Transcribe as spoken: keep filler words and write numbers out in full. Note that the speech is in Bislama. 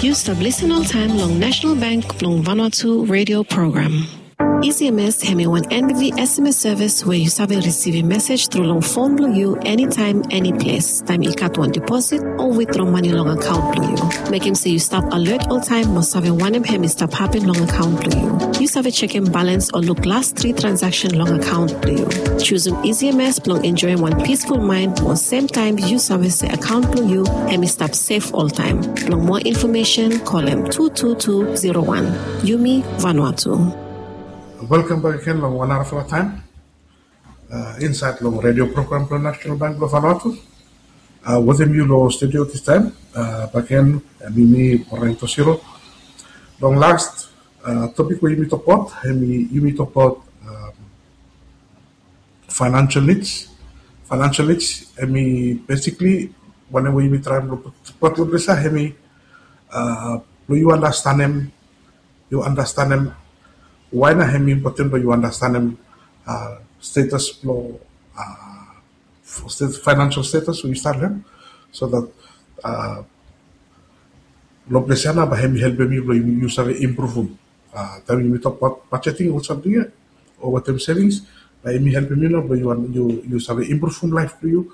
Yu stap lisen oltaem long National Bank blong Vanuatu radio program. E C M S hemi wan N B V S M S service we yu save risivim mesej tru long fon blong yu enitaem, eniples, taem i gat wan deposit o witdro mane long akaon blong yu. Mekem se yu stap alert oltaem mo save wanem hemi stap hapen long akaon blong yu. Yu save jekem balans o luk las tri transaksen long akaon blong yu. Jusum E C M S blong enjoem wan peaceful mind mo semtaem yu save se akaon blong yu hemi stap sef oltaem. Blong moa infomesen, kolem tu tu tu zero wan. Yumi Vanuatu. Welkam bak agen long wan narafala taem insaed long redio program blong National Bank blong Vanuatu. Wetem yu long studio distaem bak agen, hemi mi, Morang Tosiro. Long las topik we yumi tokbaot, hemi yumi tokbaot financial needs. Financial needs hemi basically wanem we yumi traem blong put long ples ia, hemi blong yu andastanem, yu andastanem wae nao hemi impoten blong yu andastanem status blong financial status we yu stap long hem, so that long ples ia nao bae hemi helpem yu blong yu save impruvum. Taem yumi tokbaot budgeting o samting ia o wetem savings, bae hemi helpem yu nao blong yu save impruvum laef blong yu.